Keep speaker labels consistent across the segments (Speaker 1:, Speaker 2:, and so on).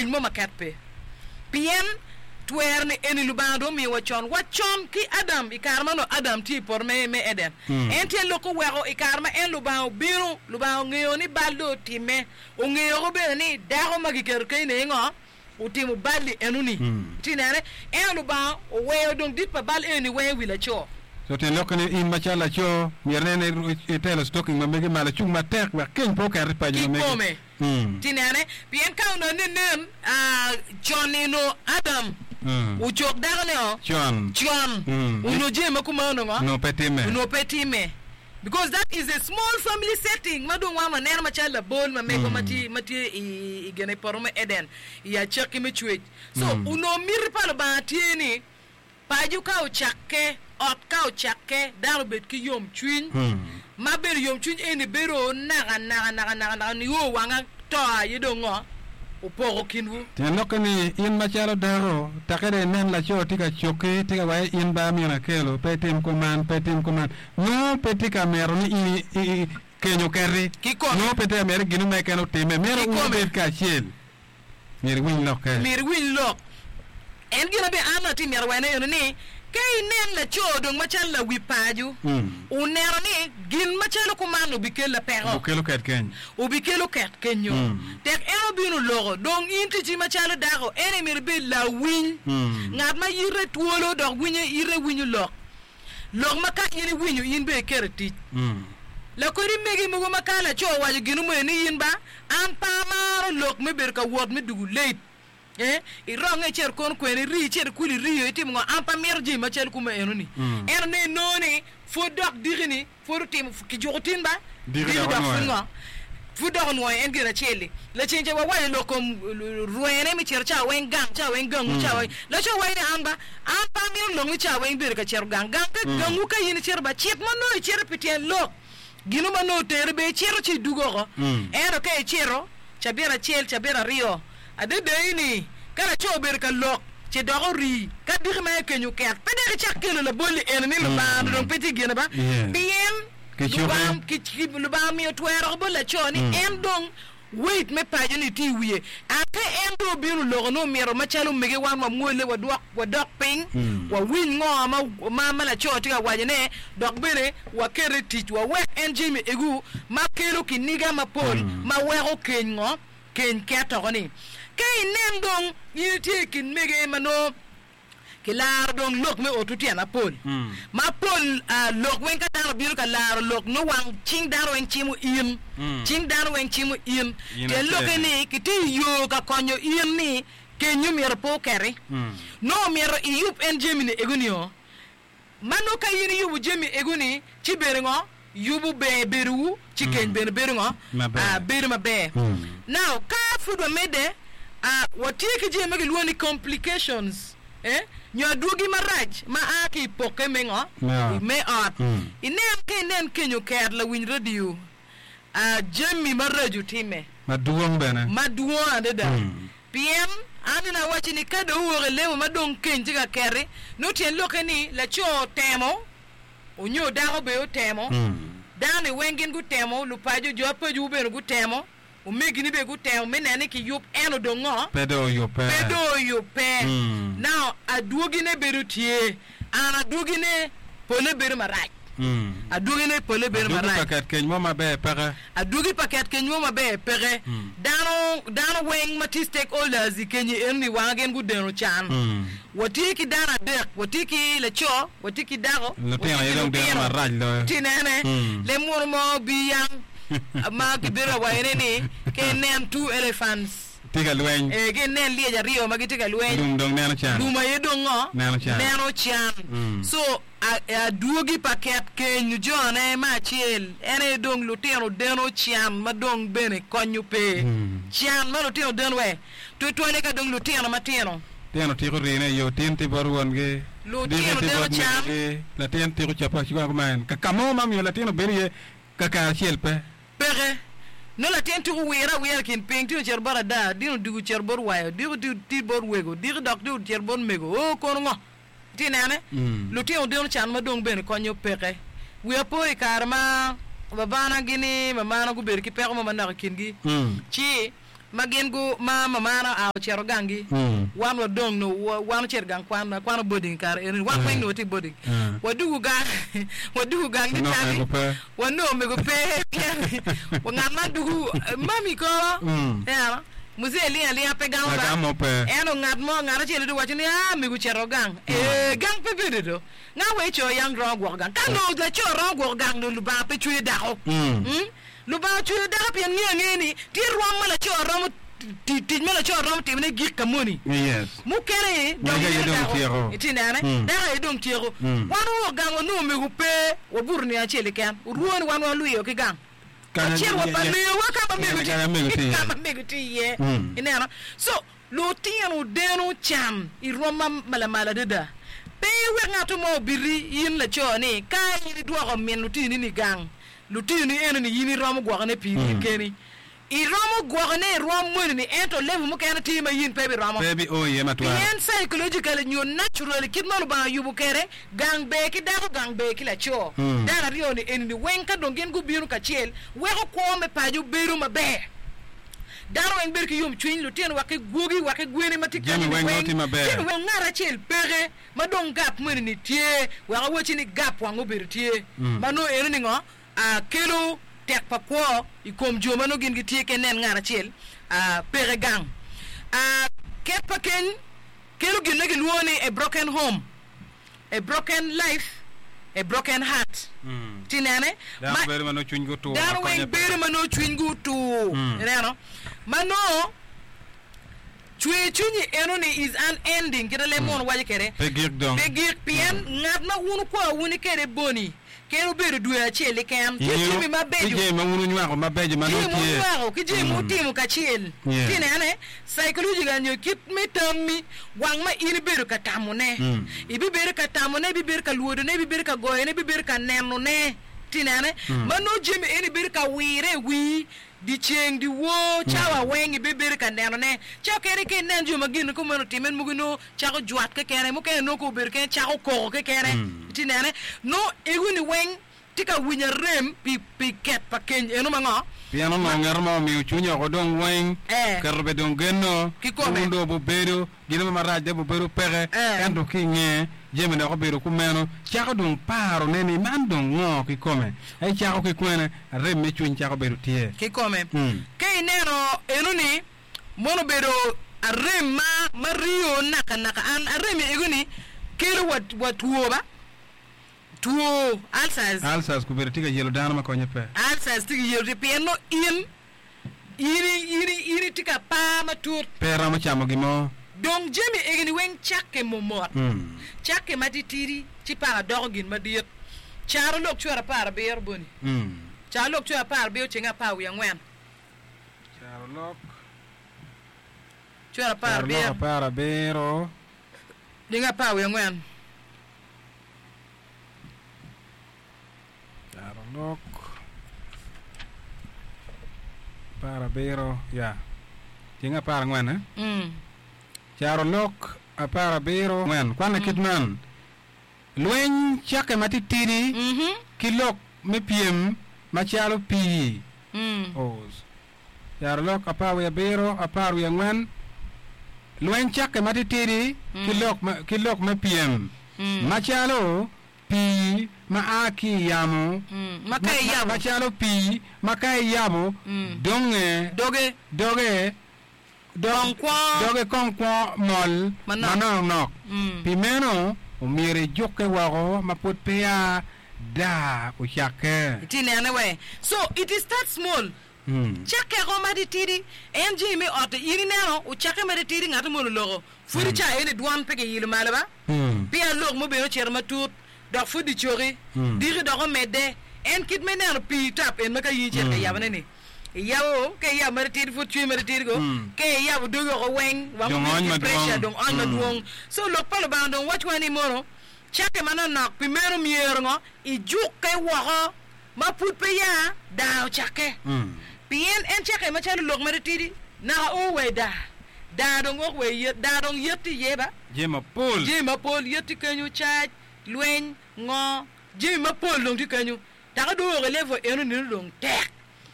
Speaker 1: Keny mo ma ket pe. Pien twero ni eni Lubanga dong omiyo wa con, wa con ki Adam i kare ma onongo Adam tye i poto me me Eden. En tye lok oweko i kare ma en Lubanga obino, Lubanga ongeyo ni bal dong otimme, ongeyoko bene ni dako ma giketo keny-ni aye ngo? Otimo bal-li enoni. Itye nene? Ento Lubanga oweyo dong dit pa bal eni weng i wi laco.
Speaker 2: Co tyen lokke ni in macalo laco myero inen ni itelo stocking ma megi malo icung matek wek keny pe oket i paco ma megi.
Speaker 1: Kikome. Ti nene, pien ka onongo ni nen, con-ni onongo Adam ocok dakone-o
Speaker 2: Con.
Speaker 1: con, onongo jami ma kuman onongo
Speaker 2: Onongo pe timme.
Speaker 1: onongo pe timme. Because that is a small family setting ma dong wan waneno macalo labol ma megwa ma tye ma tye i i gine i poto me Eden i acakki me cwec. So onongo miti pa Lubanga tye ni Paco ka ocakke, ot ka ocakke, dano obed ki yomcwiny, ma bedo yomcwiny eni bedo naka naka naka naka naka nio wanga to aye dong ngo opoko kinwu.
Speaker 2: Tyen lokke ni, in macalo dako, tekke dong inen laco tye ka cokki, tye ka waci in ba myero akelo, pe itim kuman, pe itim kuman, nongo pe tye ka mito ni in keny oketi,
Speaker 1: Kikome.
Speaker 2: nongo pe tye ka mito ni gin mo keken otimme, mito wun
Speaker 1: Kikome.
Speaker 2: wubed kacel. Myero iwiny lokke.
Speaker 1: Myero iwiny lok. En gin abe an atye myero wene eno ni, ka inen laco dong macalo lawi paco, oneno ni gin macalo kuman obikella peko.
Speaker 2: Obikelo ket keny.
Speaker 1: Obikelo ket kenyo. Tek en obino oloko, dong in ticci macalo dako, en aye myero ibed lawiny. Ngat ma yite twolo dok winye ite winyo lok. Lok ma ka in iwinyo in bene iketo i tic. Lakodi megi mogo ma ka laco owaco gin mo ni in ba, An pe amaro lok me bedo ka wot me dugu late. Eh, ironge icito kono kwene, iri icito ikulu iriyo, itimo ngo, an pe amito jami macalo kuma eno ni. Ento ne inongo ni pwod dok diki ni pwod otimo, kijuko tin ba,
Speaker 2: Diki
Speaker 1: diki
Speaker 2: dok
Speaker 1: dok pwod
Speaker 2: onwoyo.
Speaker 1: ngo, pwod dok onwoyo en gin acel-li. Lacen ca wawaco lok kom rwene me cito cawa weng gang, cawa weng gangwu, cawa weng. Laco waco ni an ba, an pe amito lok ni cawa weng ibedo ka cito gang. Gang ka gangwu ka in icito ba, cit ma nongo icito pi tyen lok. Gino ma nongo oteri bene icito ci idwogo oko. Ento ka icito cabit acel, cabit aryo, adada-ni ka laco obedo ka lok ce dok ori, ka diki ma ekenyo oket, pe dok icak kelo labolli eni ni Lubanga dong pe tye i gine ba, pien Lubanga omiyo twero bot laco ni en dong Weight me paco ni tye i wiye. Ate en dong obino oloko ni omito macalo omege wan wamwole wadwok wadok piny wawiny ngo ma ma ma laco tye ka waco ne dok bene wakete i tic wawek en jami egu ma kelo kiniga mapol ma weko keny ngo keny ket oko ni ka inen dong in itye i kin mege ma nongo Kilaro dong lok me otwu tyen apol. Ma pol lok weng ka dano obino ka laro lok nongo wang cing dano weng cimo in. Cing dano weng cimo in. Tyen lokke ni kitye i yo ka konyo in ni kenyo myero pe oketi. Nongo myero iyub en jami ni ego nio. Ma nongo ka in iyubo jami ego-ni, ci bene ngo? Yubo ber bedowu, ci keny bene bedo ngo?
Speaker 2: Maber.
Speaker 1: Bedo maber. Now, ka pud wamedde, watye ki jami ma kilwongo ni complications, eh, nyo adwogi marac ma a ki i pokke me ngo?
Speaker 2: Me ot.
Speaker 1: Me ot. Inen ka inen keny oket lawiny radio, Jami maraco timme.
Speaker 2: Madwong bene.
Speaker 1: Madwong adada. Pien an nene awacci ni ka dong owok i lemo ma dong keny tye ka keti, nongo tyen lokke ni laco otemo onyo dako bene otemo, dano-ni weng gin gutemo, lupaco, jo apacowu bene gutemo, Omegini bene gutemo me neno ni kiyub ento dong ngo?
Speaker 2: Pe dong oyubbe.
Speaker 1: Pe dong oyubbe. Now, adwogine bedo tye. An adwogine pole bedo marac. Adwogine pole bedo
Speaker 2: Adwogi
Speaker 1: marac.
Speaker 2: pa ket keny mo maber peke.
Speaker 1: Adwogi pa ket keny mo maber peke. Dano, dano weng ma tye stakeholders i kenyi enoni wanga gin gudeno can. Watye ki dano adek, watye ki laco, watye ki dako,
Speaker 2: Lutino
Speaker 1: watye
Speaker 2: aye
Speaker 1: ki
Speaker 2: dong deno
Speaker 1: lutino.
Speaker 2: marac loyo.
Speaker 1: Tye inene, leb muno mo obi yang. ma kibedo ka wacone ni, Ka inen two elephants.
Speaker 2: Tye ka lweny.
Speaker 1: Ee, ka inen lyec aryo ma gitye ka lweny.
Speaker 2: Lum dong neno can.
Speaker 1: Lum aye dong ngo?
Speaker 2: Neno can.
Speaker 1: Neno can. So, adwogi pa ket keny jone me acel en aye dong lutino deno can ma dong bene konyo pe. Can ma lutino deno we, tutwalle ka dong lutino matino.
Speaker 2: Tino tiko rine i yo, tin tye bot wongi,
Speaker 1: Lutino
Speaker 2: diki tye
Speaker 1: deno
Speaker 2: bot
Speaker 1: can.
Speaker 2: megigi, latin tiko cope acwaka kuman. Ka mo ma omiyo latin obedo iye Kakare acel pe.
Speaker 1: Peke. Nongo latin tuko wire awira i kin piny, tin ocito bot ada, dino odwogo ocito bot wayo, diko tye bot wego, diki dok tye ocito bot mego. Oo, kono ngo? Itye nene? Lutino deno can ma dong bene konyo peke. Wiya po i kare ma babana gini mamana gubedo ki peko mo manok i kingi, ci. ma gin gu ma mamana oa ocito ganggi, wan wadong nongo wan ocito i gang kwan, akwano boarding i kare eno ni, wan weng nongo watye i boarding. Wadugu gang, wadugu gang ni
Speaker 2: Onongo
Speaker 1: cani,
Speaker 2: omego pe.
Speaker 1: wanongo omego pe pien ngat ma dugu mami kono, ineno, muzee ling alinga pe gamo ba,
Speaker 2: Lagam mo pe.
Speaker 1: ento ngat mo, ngat acel dong owaco ni aa mego ocito gang, ee gang pe bedo do. Nga wa ico yam romo gwoko gang? Ka nongo laco romo gwoko gang nongo Lubanga pe cweyo dako. Lubanga ocweyo dako pien ngeyo angeya ni tye rwom ma laco romo tic ma laco romo timone gik ka moni. Mukene dong
Speaker 2: Magi aye
Speaker 1: mito
Speaker 2: dong
Speaker 1: dako.
Speaker 2: tyeko.
Speaker 1: Itye nene? Dako aye dong tyeko. Wan wawok gang wanongo omego pe, wabuto nino acel keken. Orwo ni wan walwiyo ki gang. Wacito wa pa lewa ka ma mego tye ka ma mego tye iye. Ineno? So, Lutino deno can i rwom ma lamal adada. Pe iwek ngat mo obiti in laco ni ka in idwoko min lutini-ni gang, lutini eno-ni in iromo gwokone piri keni. Iromo gwokone i rwom moni-ni ento level mukene tye ma in pe ibiromo.
Speaker 2: Pe ibio iye matwal.
Speaker 1: Pien psychologically nyo naturally kit ma Lubanga oyubo kwede, gang ber ki dako, gang ber ki laco. Dano aryo-ni eni-ni weng ka dong gin gubino kacel weko kwo me paco bedo maber. Dano weng bedo ki yomcwiny, lutino wa ki gwogi wa ki gweni ma tye
Speaker 2: Jami
Speaker 1: kenyo-ni
Speaker 2: weng nongo
Speaker 1: weng.
Speaker 2: tye maber.
Speaker 1: Jami weng ngat acel peke ma dong gap moni-ni tye wek awacci ni gap wang obedo tye ma nongo eno ni ngo kelo tek pa kwo i kom jo ma nongo gin gitye ki nen ngat acel peke gang. Ket pa keny kelo gin ma gilwongo ni a broken home. A broken life, a broken heart. Ci inene?
Speaker 2: Dano
Speaker 1: Ma,
Speaker 2: bedo ma nongo cwinygi otur ma
Speaker 1: dano
Speaker 2: konye
Speaker 1: weng
Speaker 2: pe.
Speaker 1: bedo ma nongo cwinygi otur. Ineno? Ma nongo cwer cwinyi eno-ni is unending, kite leb munu waco kwede.
Speaker 2: Pe gik dong.
Speaker 1: Pe gik, pien ngat ma wun wukwo wuni kwede boni, Kadi obedo dwe acel keken, tye
Speaker 2: Ingeyo
Speaker 1: jami
Speaker 2: ki
Speaker 1: mabeco.
Speaker 2: jami ma wun wunywako mabeco ma
Speaker 1: Jami
Speaker 2: nongo tye.
Speaker 1: munywako ki jami mutimo kacel.
Speaker 2: Yeah.
Speaker 1: Ci inene, psychological nyo kit me tammi, wang ma in ibedo ka tamone. Ibibedo ka tamone, ibibedo ka lwodone, ibibedo ka goyone, ibibedo ka nenone. Ci inene, ma nongo jami eni bedo ka wire i wii Dyeceng, dyewor, cawa weng ibibedo ka nenone. Ca kene ka inen jo ma gin kumeno otimme, mogo nongo cako jwat kekene, mukene nongo ka obedo kene cako koko kekene. Itye nene? Nongo egoni weng tye ka winyo arem pi pi ket pa keny eno ma ngo?
Speaker 2: Pien onongo ngeto mo omiyo cwinye oko dong weng,
Speaker 1: Eh.
Speaker 2: oketo be dong genno,
Speaker 1: Kikome.
Speaker 2: wun dong wubedo, Gin mo marac dong obedo peke,
Speaker 1: Eh.
Speaker 2: ento ki i nge jami dok obedo kumeno, cako dong paro ne ni man dong ngo kikome? Ai cako ki kwene, arem me cwiny cako bedo tye.
Speaker 1: Kikome. Ka ineno eno-ni, mono obedo arem ma ma rio naka naka. An arem ego-ni kelo wa wa two ba, two ulcers.
Speaker 2: Ulcers obedo tye ka yelo dano ma konye pe.
Speaker 1: Ulcers tye ka yelo ti pien nongo in In in in itye ka par matut.
Speaker 2: Pe iromo camo gin mo.
Speaker 1: Dong jami egini weng cakke momot. Cakke matitidi ci paka doko gin madit. Caro lok cwero 17 boni. Caro lok cwero 17 cenge 14.
Speaker 2: Caro lok
Speaker 1: Cwero
Speaker 2: Caro lok
Speaker 1: 17
Speaker 2: 17.
Speaker 1: cenge 14.
Speaker 2: Carolok 17 ya tyeng 14 eh? Carolok 17 ngwen kwanne kit man, Lweny cakke matitidi ki lok me pyem macalo pii. Oz. Carolok 17 14 Lweny cakke matitidi ki lok ki lok me pyem macalo Pii ma a ki i yamo,
Speaker 1: Ma ka iyabo.
Speaker 2: macalo pii ma ka iyabo donge,
Speaker 1: Doge.
Speaker 2: doge,
Speaker 1: Kong kwo.
Speaker 2: doge kong kwo mol
Speaker 1: Manok.
Speaker 2: manoknok. Pi meno, omyero ijukke woko ma pud peya daa ocakke.
Speaker 1: Itye nene we. So it start small. Cakke ko matitidi. En jami me ot-ti in ineno ocakke matitidi ngat moni oloko. Pud i ca eni dwon pe kiyilo malo ba. Pien lok mubino ocito matut, dok pud dicoki, diki dok omedde. En kit me neno pii tap en ma ka in icito ka yabone-ni, iyabo, ka iyabo matitidi pud cwiny matitidi ko, ka iyabo dogi oko weng, wang
Speaker 2: Dong
Speaker 1: obino
Speaker 2: ony
Speaker 1: ki
Speaker 2: madwong.
Speaker 1: pressure, dong ony madwong. So lok pa Lubanga dong wacwa ni mono, cakke manonok, pi meno myero ngo? Ijukke woko ma pud pe ya daa ocakke. Pien en cakke macalo lok matitidi, naka o wa i daa. Daa dong ok wa i yet, daa dong yet tye iye ba.
Speaker 2: Jami mapol.
Speaker 1: Jami mapol, yet tye kenyo, cac, lweny, ngo, jami mapol dong tye kenyo. Taka dong ok i level eno nino dong tek.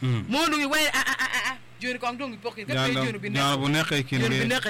Speaker 1: Mono dong iwaco ni a a a a a. Joni kong dong gipok kin ka pe joni
Speaker 2: Joni
Speaker 1: obineko
Speaker 2: buneke i
Speaker 1: joni
Speaker 2: kingi.
Speaker 1: obineke.